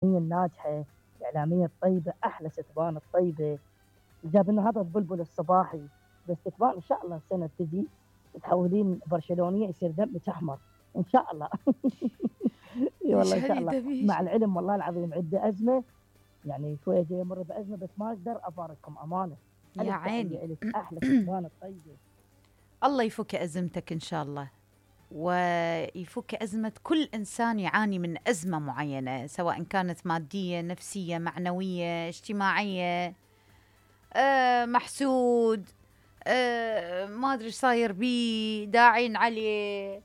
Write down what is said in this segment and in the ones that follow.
الناجحة، الإعلامية الطيبة، أحلى ستبان الطيبة، جاب لنا هذا البلبل الصباحي. بس ستبان إن شاء الله السنة تجي تحولين برشلونية يصير دمك أحمر إن شاء الله. اي والله إن شاء يشهد الله. دمي. مع العلم والله العظيم عندي أزمة، يعني شوية جاي أمر بأزمة، بس ما أقدر أفارقكم أمانة. يا عيني. إلك أحلى ستبان الطيبة. الله يفك أزمتك إن شاء الله، ويفك أزمة كل إنسان يعاني من أزمة معينة، سواء كانت مادية، نفسية، معنوية، اجتماعية، محسود، ما أدري صاير بيه، داعين عليه،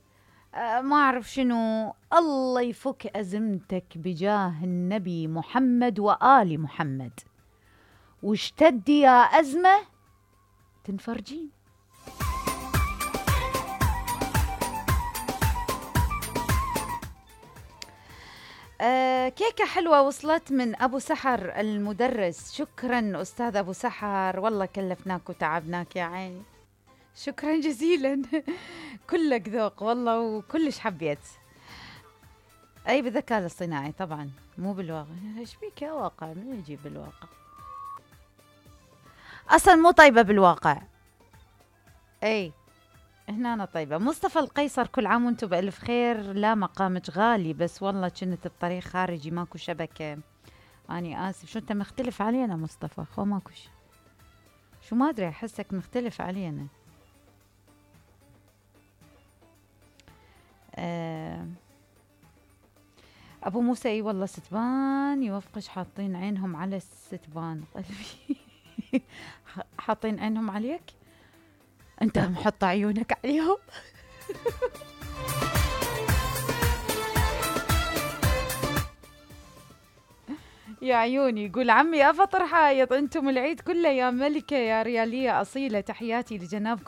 ما أعرف شنو. الله يفك أزمتك بجاه النبي محمد وآل محمد، واشتدي يا أزمة تنفرجين. كيكة حلوة وصلت من أبو سحر المدرس. شكرا أستاذ أبو سحر، والله كلفناك وتعبناك يا عيني، شكرا جزيلا. كلك ذوق والله، وكلش حبيت. أي بالذكاء الاصطناعي طبعا، مو بالواقع. ايش بيك يا واقع؟ من يجيب بالواقع؟ أصلا مو طيبة بالواقع. أي هنا أنا طيبة. مصطفى القيصر، كل عام وانتم بألف خير. لا مقامك غالي، بس والله كنت بطريق خارجي ماكو شبكة، أني آسف. شو أنت مختلف علينا مصطفى؟ خو ماكو شو ما أدري، أحسك مختلف علينا. أبو موسى، اي والله ستبان يوفقش، حاطين عينهم على الستبان قلبي. حاطين عينهم عليك انت، محط عيونك عليهم. يا عيوني. يقول عمي أفطر حايط، انتم العيد كله يا ملكة يا ريالية أصيلة، تحياتي لجنابكم